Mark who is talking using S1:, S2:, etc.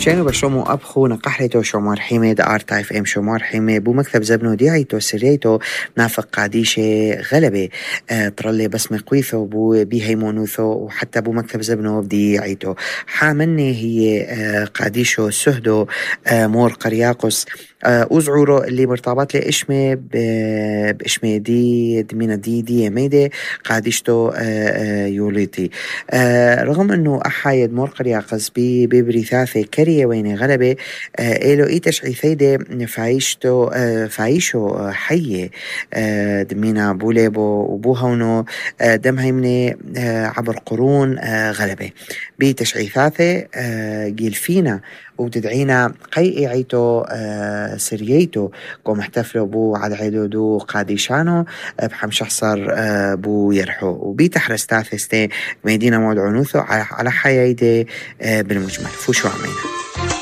S1: شانو بشومو أبخو نقحريتو شومار حيمة دا آرتا اف ام شومار حيمة بو مكتب زبنو ديعيتو سريتو نافق قاديشة غلبة طرلي بسمة قويثو بو بيهيمونوثو وحتى بو مكتب زبنو ديعيتو حامني هي قاديشو سهدو مور قرياقس أزعورو اللي مرتبط لي إشمي بإشمي دي دمينا دي ميدي قاديشتو يوليتي رغم أنه أحايد مور قرياقس ببريثاثي كريه وين غلبة إلو إيتش عيثيدي فايشو حية دمينا بوليبو وبوهونو دم هيمني عبر قرون غلبة بيتش عيثاثي جيل فينا وتدعينا قيئي عيتو سرييتو قوم احتفلوا بو عد عيدو دو قاديشانو بحم شخصر بو يرحو وبيتح رستاثستي ميدينا مود عنوثو على حيايدي بالمجمل فوشو عمينا